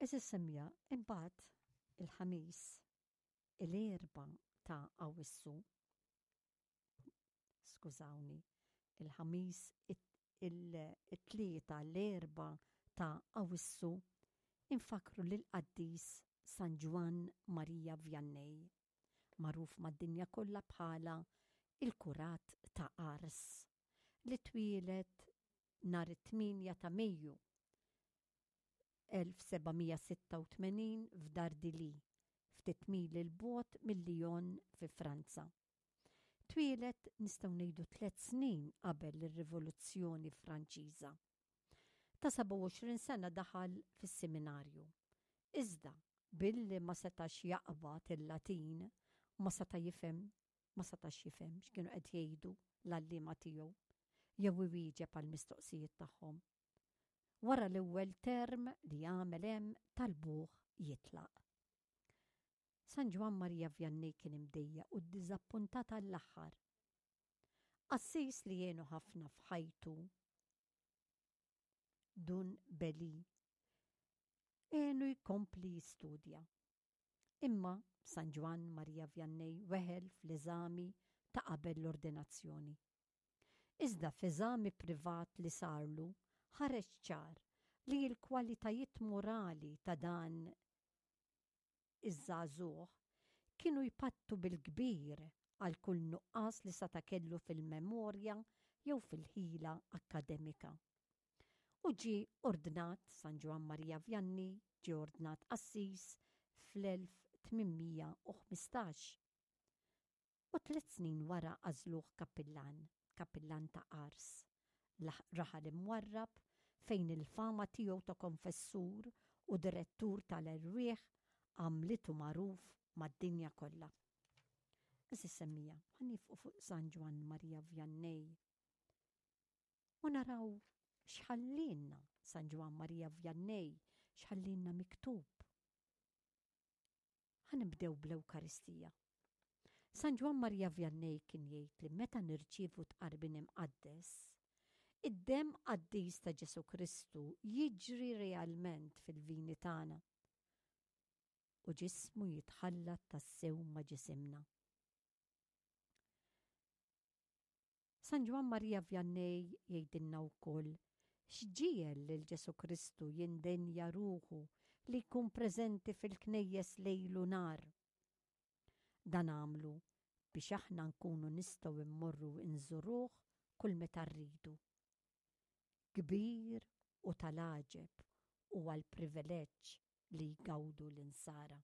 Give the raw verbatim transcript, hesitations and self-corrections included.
Għeżież semmiegħa, imbagħad il-Ħamis, l-Erbgħa ta' Awwissu, skużawni, il-Ħamis, it-Tlieta, l-Erbgħa ta' Awwissu, infakkru lill-qaddis San Ġwann Marija Vianney, magħruf mad-dinja kollha bħala il-Kurat ta' Ars, li twieled nhar it-tmienja ta' Mejju elf seba' mija sitta u tmenin f'Dardilly, ftit mili 'l bogħod minn Lyon fi Franza. Twieled nistgħu ngħidu tliet snin qabel ir-Rivoluzzjoni Franċiża. Ta' sebgħa u għoxrin sena daħal fis-seminarju. Iżda billi ma setax jaqbad il-Latin, ma seta' jifhem, ma setax jifhem x'kienu qed jgħidu l-għalliema tiegħu jew iwieġeb għall-mistoqsijiet tagħhom. Wara l-ewwel term li għamel hemm talbuh jitlaq. San Ġwann Marija Vianney kien imdejjaq u ddiżappuntat għall-aħħar. Qassis li għenu ħafna f'ħajtu, Dun Beli, għenu jkompli jistudja. Imma San Ġwann Marija Vianney weħel fl-eżami ta' qabel l-ordinazzjoni. Iżda f'eżami privat li sarlu ħareġ ċar li l-kwalitajiet morali ta' dan iż-żagħżugħ kienu jpattu bil-kbir għal kull nuqqas li seta' kellu fil-memorja jew fil-ħila akkademika. U ġie ordnat San Ġwann Marija Vianney, ġie ordnat qassis fl-elf tmien mija u ħmistax. U tliet snin wara għażluh kappillan, kappillan ta' Ars, raħal imwarrab fejn il-fama tiegħu ta' konfessur u direttur tal-erwieħ għamlitu magħruf mad-dinja kollha. Għeżież semmiegħa, ħa nieqfu fuq San Ġwann Marija Vianney u naraw x'ħallielna San Ġwann Marija Vianney, x'ħallielna miktub. Ħa nibdew bl-Ewkaristija. San Ġwann Marija Vianney kien jgħid li meta nirċievu tqarbin imqaddes, id-demm qaddis ta' Ġesu Kristu jiġri realment fil-vini tagħna u ġismu jitħallat tassew ma' ġisimna. San Ġwann Marija Vianney jgħidilna wkoll x'ġiegħel lil Ġesu Kristu jindenja ruħu li jkun preżenti fil-knejjes lejl u nhar. Dan għamlu biex aħna nkunu nistgħu immorru nżuruh kull meta rridu. Kbir u tal-għaġeb huwa l-privileġġ li jgawdu l-insara.